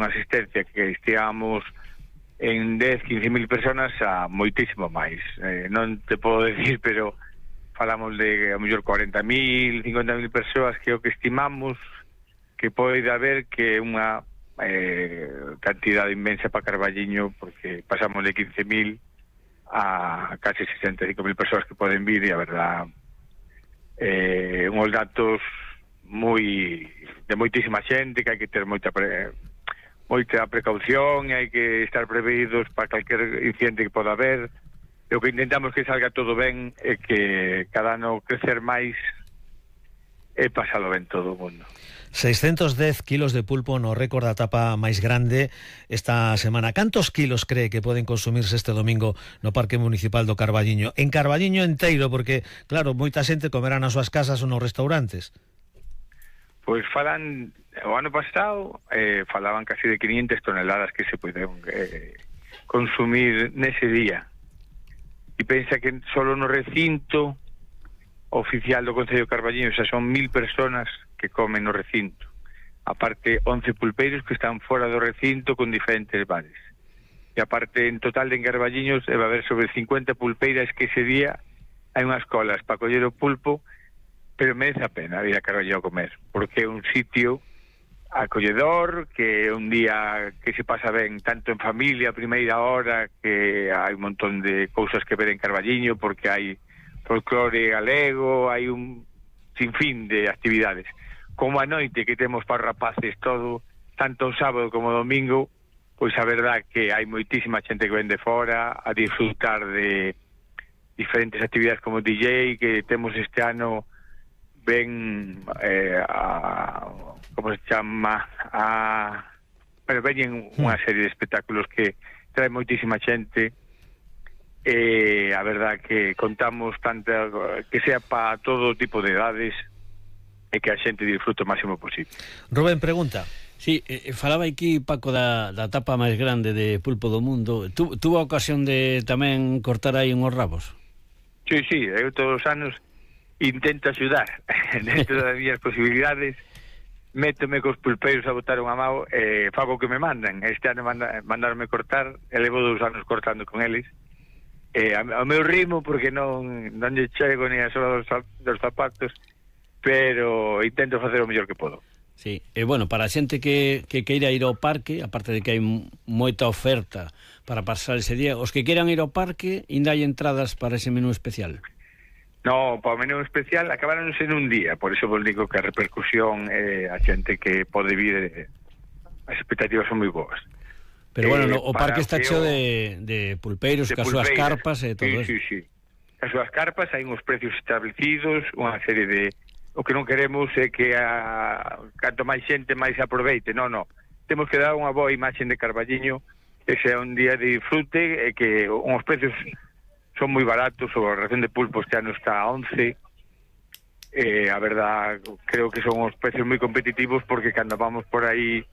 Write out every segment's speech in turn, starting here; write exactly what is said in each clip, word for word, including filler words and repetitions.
unha asistencia que estíamos en dez, quince mil personas a moitísimo máis. Eh, non te podo decir, pero falamos de a mellor cuarenta mil, cincuenta mil persoas que é o que estimamos que pode haber, que é unha eh, cantidade inmensa para Carballiño, porque pasamos de quince mil a casi sesenta e cinco mil persoas que poden vir, e a verdad eh, uns datos moi de moitísima xente, que hai que ter moita pre, moita precaución, e hai que estar previdos para calquer incidente que poda haber. E o que intentamos que salga todo ben é que cada ano crecer máis e pasalo ben todo o mundo. seiscentos dez kilos de pulpo no récord da tapa máis grande esta semana. Cantos kilos cree que poden consumirse este domingo no Parque Municipal do Carballiño? En Carballiño enteiro, porque, claro, moita xente comerá nas súas casas ou nos restaurantes. Pois falan, o ano pasado eh, falaban casi de quinientas toneladas que se poden eh, consumir nese día. E pensa que solo no recinto oficial do Concello de Carballiño xa son mil personas que comen no recinto. Aparte, once pulpeiros que están fora do recinto con diferentes bares. E aparte, en total de en Carballiños debe haber sobre cincuenta pulpeiras que ese día hai unhas colas para coller o pulpo, pero merece a pena ir a Carballiño a comer, porque é un sitio acolledor, que é un día que se pasa ben tanto en familia, a primeira hora, que hai un montón de cousas que ver en Carballiño, porque hai folclore galego, hai un sinfín de actividades. Como a noite que temos para rapaces todo, tanto o sábado como o domingo, pois a verdad que hai moitísima xente que ven de fora a disfrutar de diferentes actividades como D J, que temos este ano ven eh, a, como se chama, a, pero veñen unha serie de espectáculos que trae moitísima xente, e a verdad que contamos tanta, que sea para todo tipo de edades e que a xente disfrute o máximo posible. Rubén, pregunta. Sí, eh, falaba aquí Paco da, da tapa máis grande de pulpo do mundo. Tu, tuvo a ocasión de tamén cortar aí unhos rabos? Sí, sí, eu todos os anos intento axudar dentro das miñas posibilidades, métome cos pulpeiros a botar unha mão, e eh, fago o que me mandan. Este ano manda, mandarme cortar, e levo dous anos cortando con eles, eh, ao meu ritmo, porque non non lle chego ni a sola dos, dos zapatos, pero intento facer o mellor que podo. Sí, e bueno, para a xente que, que queira ir ao parque, aparte de que hai moita oferta para pasar ese día, os que queiran ir ao parque, ainda hai entradas para ese menú especial? No, para o menú especial acabaronse en un día, por iso vos digo que a repercusión, eh, a xente que pode vir, eh, as expectativas son moi boas. Pero bueno, eh, no, o parque está cheo o... de, de pulpeiros, de cas súas carpas e todo sí, eso. Sí, sí, as súas carpas, hai uns precios establecidos, unha serie de... O que non queremos é que a... canto máis xente máis aproveite, non, non. Temos que dar unha boa imaxe de Carballiño, que sea un día de disfrute, e que uns precios son moi baratos. A ración de pulpo este ano está a once, eh, a verdad creo que son os precios moi competitivos, porque cando vamos por aí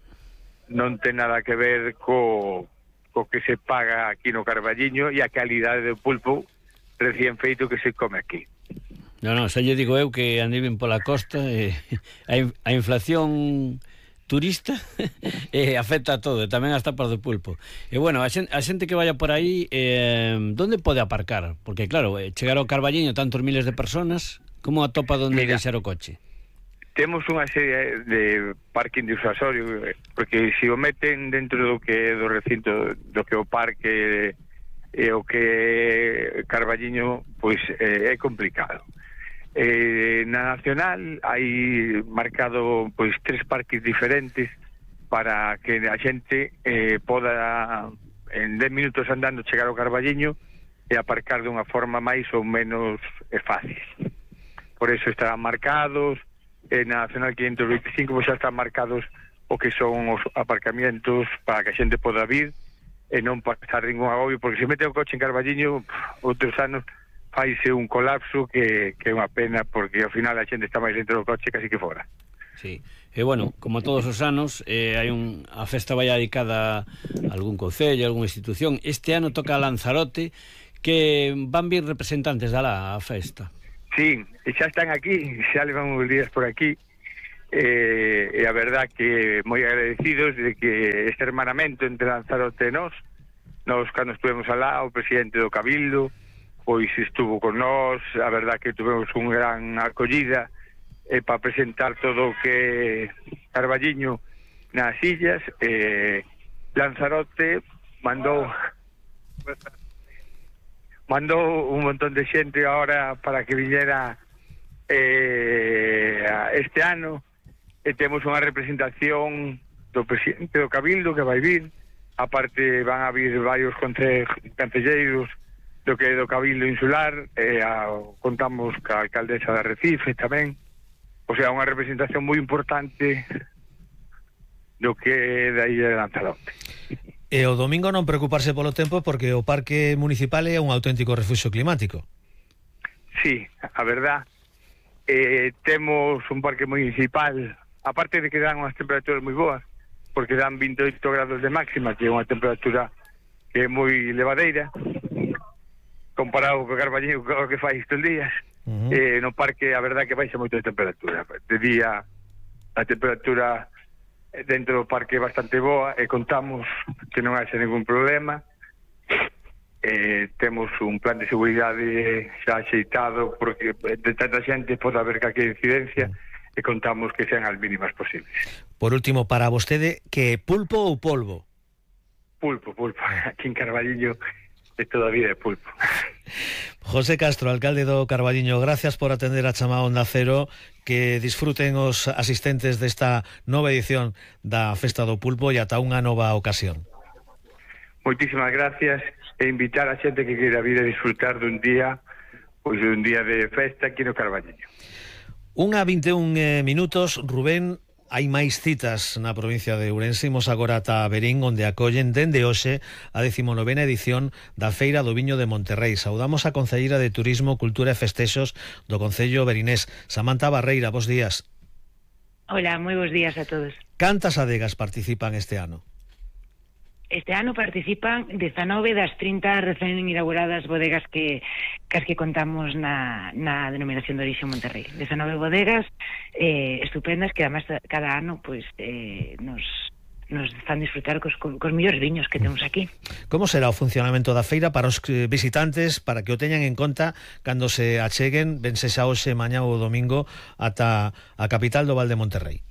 non ten nada que ver co, co que se paga aquí no Carballiño e a calidade do pulpo recién feito que se come aquí. Non, non, xa lle digo eu que andei ben pola costa, e a, a inflación turista eh, afecta a todo, e tamén as tapas do pulpo. E bueno, a xente, a xente que vaya por aí, eh, donde pode aparcar? Porque claro, eh, chegar ao Carballiño tantos miles de personas, como atopa donde Mira, deixar o coche? Temos unha serie de parking disuasorio, porque se o meten dentro do que é do recinto, do que é o parque e o que é Carballiño, pois eh, é complicado. Eh, na Nacional hai marcado pois tres parques diferentes para que a xente eh, poda en dez minutos andando chegar ao Carballiño e aparcar dunha forma máis ou menos eh, fácil. Por eso estarán marcados. En na Nacional quinhentos veinticinco pois xa están marcados o que son os aparcamientos para que a xente poda vir e non pasar ningún agobio, porque se mete o coche en Carballiño, outros anos faise un colapso que, que é unha pena, porque ao final a xente está máis dentro do coche casi que fora. Sí, e bueno, como todos os anos, eh, hai un, a festa vai dedicada a algún concello, a algunha institución. Este ano toca a Lanzarote, que van vir representantes da lá a festa. Sí, e xa están aquí, xa levan uns días por aquí, e, e a verdad que moi agradecidos de que este hermanamento entre Lanzarote e nós, nós cando estuvemos alá, o presidente do Cabildo pois estuvo con nós, a verdad que tuvemos un gran acollida eh, para presentar todo o que Carballiño nas illas. eh, Lanzarote mandou mandou un montón de xente ahora para que viñera eh, este ano, e temos unha representación do presidente do Cabildo que vai vir, aparte van a vir varios concelleiros do que é do Cabildo Insular, e a, contamos ca alcaldesa de Recife tamén, o sea, unha representación moi importante do que é da illa de Lanzarote. E o domingo non preocuparse polo tempo, porque o parque municipal é un auténtico refuxio climático. Sí, a verdad, eh, temos un parque municipal, aparte de que dan unhas temperaturas moi boas, porque dan vinte e oito grados de máxima, que é unha temperatura que é moi levadeira, comparado co Carballiño, co que fai estes días. Uh-huh. eh, no parque a verdad que baixa moito de temperatura. De día a temperatura dentro do parque é bastante boa, e contamos que non haxe ningún problema. Eh, temos un plan de seguridade xa axeitado, porque de tanta xente pode haber calquera incidencia, e contamos que sean as mínimas posibles. Por último, para vostede, que pulpo ou polvo? Pulpo, pulpo. Aquí en Carballiño é todavía de pulpo. José Castro, alcalde do Carballiño, gracias por atender a chamada Onda Cero. Que disfruten os asistentes desta nova edición da Festa do Pulpo e ata unha nova ocasión. Moitísimas gracias, e invitar a xente que queira vir a disfrutar dun día, pois dun día de festa aquí no Carballiño. Unha vinte e un eh, minutos, Rubén. Hai máis citas na provincia de Ourense. Imos agora ata Verín, onde acollen dende hoxe a decimonovena edición da Feira do Viño de Monterrei. Saudamos a concelleira de Turismo, Cultura e Festexos do Concello verinés, Samantha Barreira. Bos días. Hola, moi bos días a todos. Cantas adegas participan este ano? Este ano participan dezanove das trinta recén inauguradas bodegas que cas que contamos na, na denominación de orixe Monterrei. dezanove bodegas eh, estupendas que además cada ano pues, eh, nos, nos fan disfrutar cos, cos mellores viños que temos aquí. Como será o funcionamento da feira para os visitantes, para que o teñan en conta cando se acheguen, ben sexa hoxe, mañá ou domingo, ata a capital do Val de Monterrei?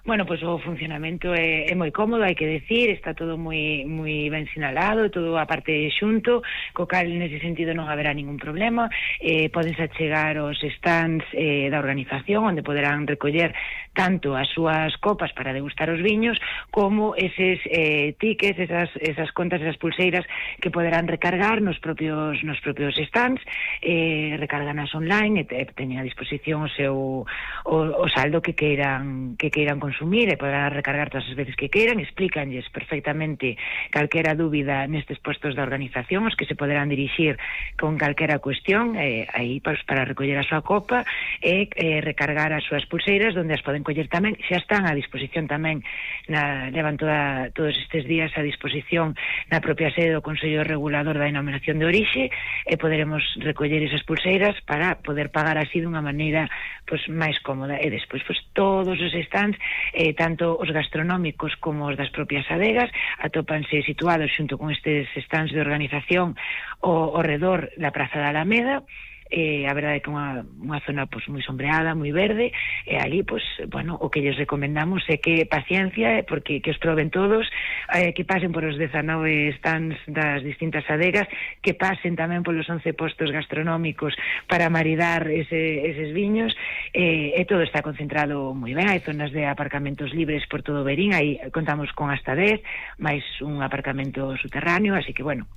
Bueno, pois pues, o funcionamento é, é moi cómodo, hai que decir, está todo moi moi ben sinalado, todo a parte xunto, co cal nese sentido non haberá ningún problema. Eh, podense achegar os stands eh, da organización, onde poderán recoller tanto as súas copas para degustar os viños, como eses eh, tickets, esas, esas contas, esas pulseiras que poderán recargar nos propios nos propios stands, eh, recarganas online, e teñen a disposición o seu o, o saldo que queiran que queiran consumir, e poderán recargar todas as veces que queiran. Explícanlles perfectamente calquera dúbida nestes puestos da organización, os que se poderán dirixir con calquera cuestión, eh, aí pues, para recoller a súa copa e eh, recargar as súas pulseiras, donde as poden coller tamén, xa están a disposición tamén, na, levan toda, todos estes días a disposición na propia sede do Consello Regulador da Denominación de Orixe, e poderemos recoller esas pulseiras para poder pagar así dunha maneira pues, máis cómoda. E despois pues, todos os stands, eh, tanto os gastronómicos como os das propias adegas, atópanse situados xunto con estes stands de organización ao, ao redor da Praza da Alameda. Eh, a verdade é que unha, unha zona pues, moi sombreada, moi verde, e ali, pues, bueno, o que lles recomendamos é que paciencia, porque que os proben todos, eh, que pasen por os dezanove stands das distintas adegas, que pasen tamén polos once postos gastronómicos para maridar ese, eses viños, eh, e todo está concentrado moi ben. Hai zonas de aparcamentos libres por todo Verín, aí contamos con hasta dez, máis un aparcamento subterráneo, así que, bueno,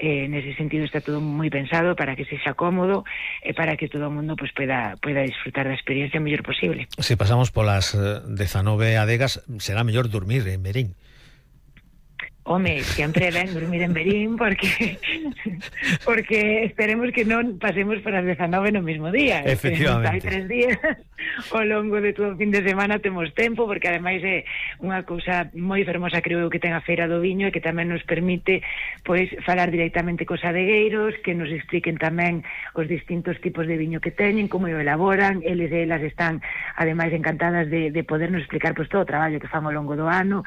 Eh, nese sentido está todo moi pensado para que sexa cómodo e para que todo o mundo pues, pueda, pueda disfrutar da experiencia o mellor posible. Se pasamos polas dezanove adegas, será mellor dormir en Verín. Home, sempre é ben dormir en Verín porque porque esperemos que non pasemos para as dezanove no mesmo día. Efectivamente. Hai tres días ao longo de todo o fin de semana temos tempo, porque ademais é unha cousa moi fermosa, creo que ten a Feira do Viño, e que tamén nos permite pois falar directamente cos adegueiros, que nos expliquen tamén os distintos tipos de viño que teñen, como o elaboran. Eles e elas están ademais encantadas de, de podernos explicar pois todo o traballo que fan ao longo do ano.